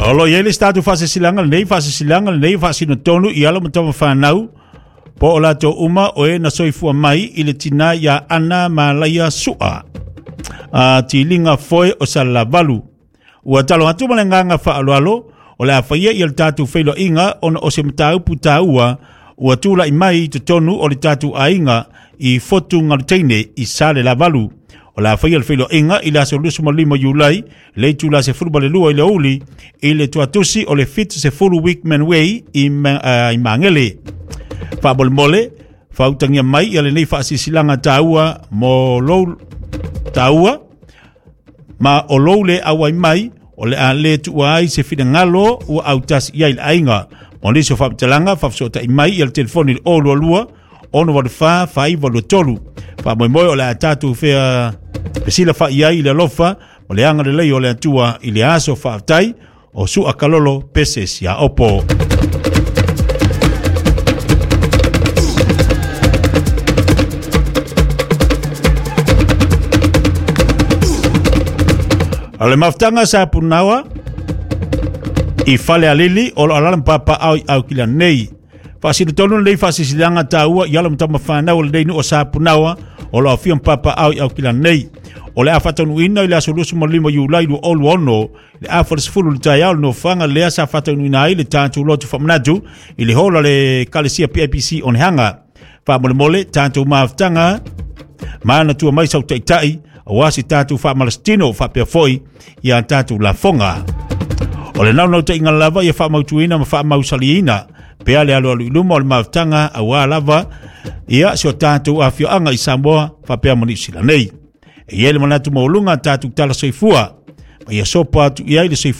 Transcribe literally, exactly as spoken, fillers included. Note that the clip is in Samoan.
O lo i ai le statu faasesilaga lenei faasesilaga lenei faasinotonu i alo ma tamafanau po o latou uma o e na soifua mai i le tinā iā Ana Malaia Su'a a tiliga foe o Salelavalu. Ua talo atu ma le agaga faaaloalo o le a faia ia le tatou feiloaiga ona o se mataupu taua ua tula'i mai i totonu o le tatou aiga i Fotu Galuteine i Salelavalu. O le a faia le feiloaiga i le aso luasefulu ma lima Iulai le itulā sefulu ma le lua i le aoauli i le tuatusi o le fitu sefulu Wickman Way i, uh, i Magele. Faamolemole faautagia mai ia lenei faasilasilaga taua mo lou taua ma o lou le auai mai o le a le tuua ai se finagalo ua autasi i ai le aiga. Mo nisi o faamatalaga faafesootai mai ia le telefoni le zero lua lua ono valu fa faaiva lua tolu. Faamoemoe o le a tatou fea fesila fa'i ai i le alofa o le agalelei o le Atua i le aso. Faafetai. O Su'a Kalolo Pese Siaopo. O le mafutaga sa punaua i fale alili o lo alala papa au i au kila nei. Faasinotonu lenei faasilasilaga taua i alo ma tamafanau o lenei nuu o Sapunaoa o lo afio papa au i au kila nei. O le a faataunuuina i le aso luasefulu ma lima Iulai lua zero lua ono le afa le sefulu le taeao le nofoaga lea sa faataunuuina ai le tatou lotu faamanatu i le hola le Kalesia P I P C Onehanga. Faamolemole tatou mafutaga manatua mai sau taitai aua si tatou faamalasitino faapea foi ia tatou lafoga. O le naunautaiga lava ia faamautuina ma faamausaliina pea le alualu i luma o le mafutaga auā lava ia si o tatou afioaga i Samoa faapea ma Niusila nei. E i ai le manatu maualuga tatou tala soifua ma ia sopo atu i ai le soifua.